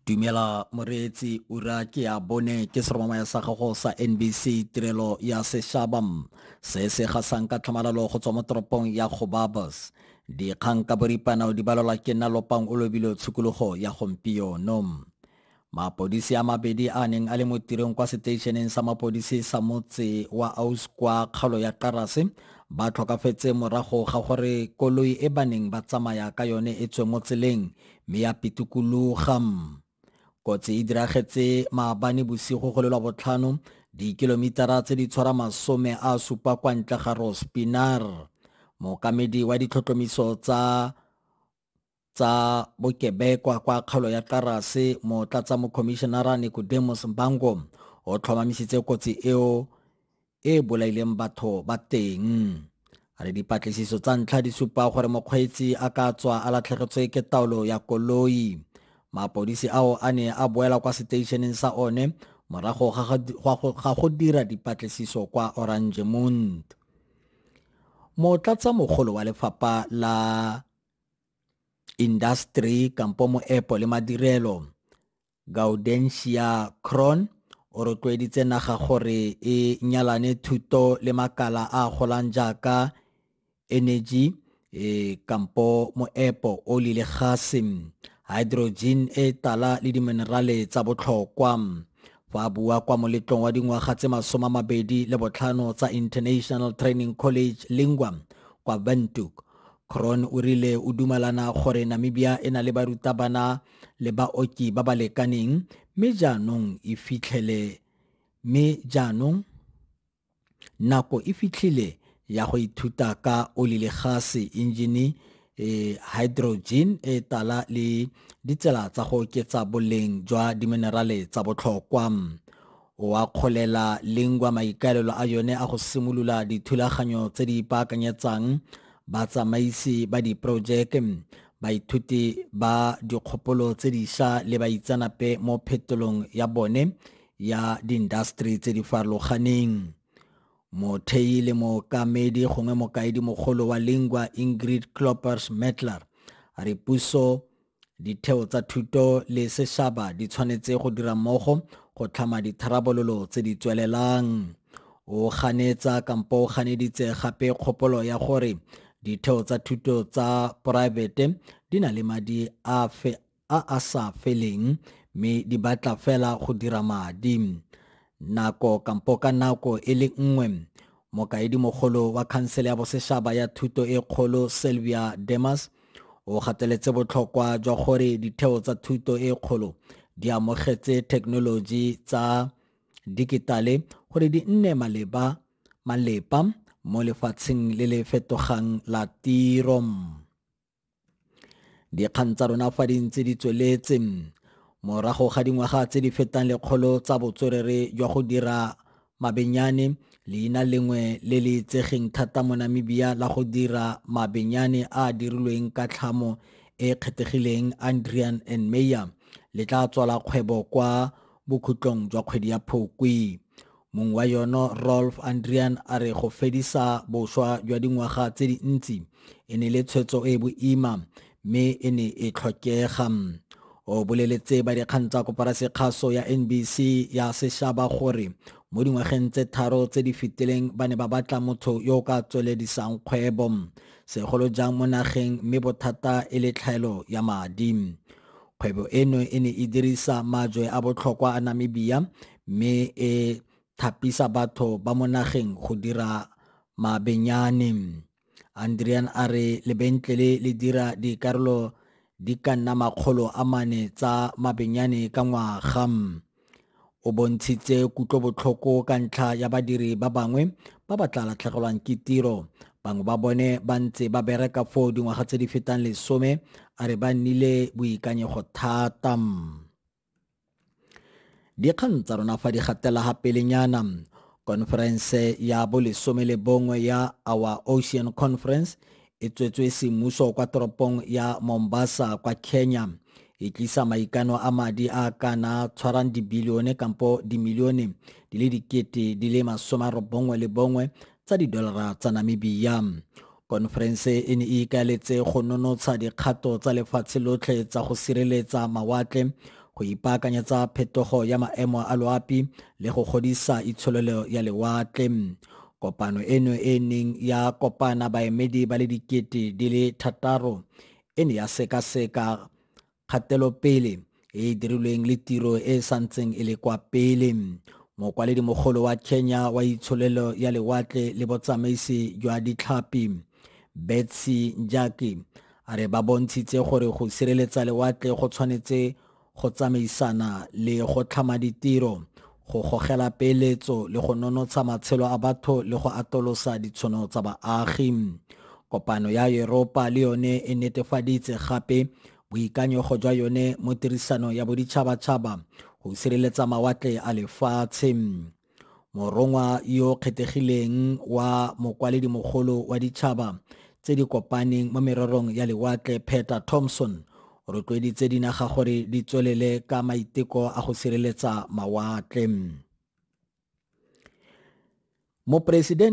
Dumela moreetsi, ura ke ya bone ke seromamaya sa gago sa NBC tirelo ya sešaba se se gasang ka tlhamalalo go tswa mo toropong ya Gobabis. Dikgang ka boripana o di balelwa ke nna Lopang o lobile tshokologo ya gompieno. Mapodisi a mabedi a neng a le mo tirong kwa seteišeneng sa mapodisi sa motse wa Aus kwa kgaolo ya Qarase ba tlhokafetse morago ga gore koloi e ba neng ba tsamaya ka yone e tswe mo tseleng mme ya pitikologa. Kotsi e diragetse maabane bosigo go le lwa botlhano dikilomitara tse di tshwara 70 kwa ntle ga Rospinaar. Mookamedi wa ditlhotlhomiso tsa bokebekwa kwa kgaolo ya Qarase, motlatsa mokhomišenara Nicodemus Mbango, o tlhomamisitse kotsi eo e bolaileng batho ba teng. A re dipatlisiso tsa ntlha di supa gore mokgweetsi a ka tswa a latlhegetswe ke taolo ya koloi. Mapodisi ao a ne a boela kwa seteišeneng sa one morago ga go dira dipatlisiso kwa Oranjemund. Motlatsa mogolo wa lefapha la industry kampo moepo le madirelo Gaudentia Kron o rotloeditse naga gore e nyalane thuto le makala a golang jaaka energy kampo moepo oli le gase, hydrogen e tala le diminerale tsa botlhokwa. Fa a bua kwa moletlong wa dingwaga tse 25 tsa International Training College Lingua kwa Windhoek, Kron o rile o dumalana gore Namibia e na le barutabana le baoki ba ba lekaneng, mme jaanong nako e fitlhile ya go ithuta ka oli le gase, engine, hydrogen e tala le ditsela tsa go oketsa boleng jwa diminerale tsa botlhokwa. O akgolela Lingua maikaelelo a yone a go simolola dithulaganyo tse di ipaakanyetsang batsamaisi ba diporojeke, baithuti ba dikgopolo tse dišwa le baitseanape mo phetolong ya bone ya diindasteri tse di farologaneng. Mothei le mookamedi gongwe mokaedi mogolo wa Lingua Ingrid Kloppers-Mettler a re puso, ditheo tsa thuto le sešaba di tshwanetse go dira mmogo go tlhama ditharabololo tse di tswelelang. O ganetsa kampo o ganeditse gape kgopolo ya gore ditheo tsa thuto tsa poraefete di na le madi a a sa feleng mme di batla fela go dira madi. Nako kampo ka nako e le nngwe, mokaedimogolo wa khansele ya bosešaba ya thuto e kgolo Sylvia Demas o gateletse botlhokwa jwa gore ditheo tsa thuto e kgolo di amogetse thekenoloji tsa digitale gore di nne malepa mo lefatsheng le le fetogang la tiro. Dikgang tsa rona fa di ntse di tsweletse morago ga dingwaga tse di fetang 100 tsa botswerere jwa go dira mabenyane, leina lengwe le le itsegeng thata mo Namibia la go dira mabenyane a a dirilweng ka tlhamo e kgethegileng Adriaan and Meyer le tla tswala kgwebo kwa bokhutlong jwa kgwedi ya Phukwi. Mong wa yone Rolf Adriaan a re go fedisa boswa jwa dingwaga tse dintsi e ne le tshwetso e boima mme e ne e tlhokega. O boleletse ba dikgang tsa koporasi kgaso ya NBC ya sešaba gore mo dingwageng tse 3 tse di fetileng ba ne ba batla motho yo o ka tsweledisang kgwebo, segolo jang mo nageng, mme bothata e le tlhaelo ya madi. Kgwebo eno e ne e dirisa majwe a botlhokwa a Namibia mme e thapisa batho ba mo nageng go dira mabenyane. Adriaan a re lebentlele le dira dikarolo di ka nna 400 tsa mabenyane ka ngwaga. O bontshitse kutlobotlhoko ka ntlha ya badiri ba bangwe ba ba tla latlhegelwang ke tiro. Bangwe ba bone ba ntse ba bereka foo dingwaga tse di fetang 10, a re ba nnile boikanyego thata. Dikgang tsa rona fa di gatela ga pelenyana, konferense ya bo 11 ya Our Ocean Conference e tswetswe semmuso kwa toropong ya Mombasa kwa Kenya. E tlisa maikano a madi a kana tshwarang dibilione kampo dimilione di le 91 tsa didolara tsa Namibia. Konferense e ne e ikaeletse go nonotsha dikgato tsa lefatshe lotlhe tsa go sireletsa mawatle, go ipaakanyetsa phetogo ya maemo a loapi le go godisa itsholelo ya lewatle. Kopano eno e neng ya kopana baemedi ba le 6,000 e ne ya sekaseka kgatelopele e e dirilweng le tiro e e santseng e le kwa pele. Mokwaledi mogolo wa Kenya wa itsholelo ya lewatle le botsamaisi jwa ditlhapi, Betsy Njaki, a re ba bontshitse gore go sireletsa lewatle go tshwanetse go tsamaisana le go tlhama ditiro, go gogela peeletso le go nonotsha matshelo a batho le go atolosa ditshono tsa baagi. Kopano ya Europa le yone e netefaditse gape boikanyego jwa yone mo tirisano ya boditšhabatšhaba go sireletsa mawatle a lefatshe. Morongwa yo kgethegileng wa mokwaledimogolo wa ditšhaba tse di kopaneng mo mererong ya lewatle, Peter Thompson, o rotloeditse dinaga gore di tswelele ka maiteko a go sireletsa mawatle. Moporesidente